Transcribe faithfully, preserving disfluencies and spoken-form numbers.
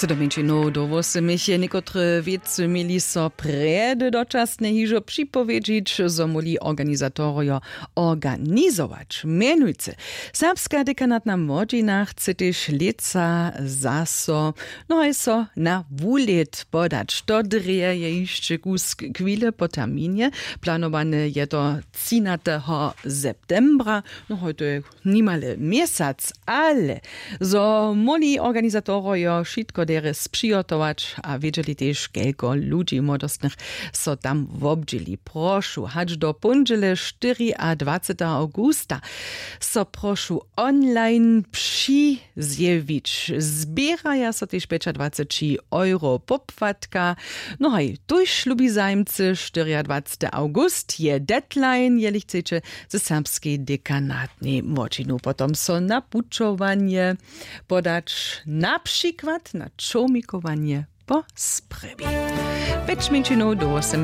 Do mjeńšinow do wósymich je někotre wěcy měli so prjedy dočasnje hižo připowědźić, zo móhli organizatorojo organizować. Mjenujcy, serbska dekanatna młodźina chce tež lětsa zaso, no haj so na wulět podać. To drje je hišće kusk chwile po terminje. Planowane je to třinateho septembra. No hoj, to je nimale měsac, ale zo móhli organizatorojo wšitko derje spřihotować a wědźeli tež, kelko ludźi młodostnych so tam wobdźěli. Prošu, hač do póndźele štyriadwaceteho awgusta so prošu online přizjewić. Zběraja so tež pjećadwaceći euro popłatka. No haj, tuž, lubi zajimcy, štyriadwacety awgust je deadline, jeli chceće ze serbskej dekanatnej młodźinu potom so na pućowanje podać, na přikład na čołmikowanje po sprjewi. Pjeć mjeńšinow do wósym.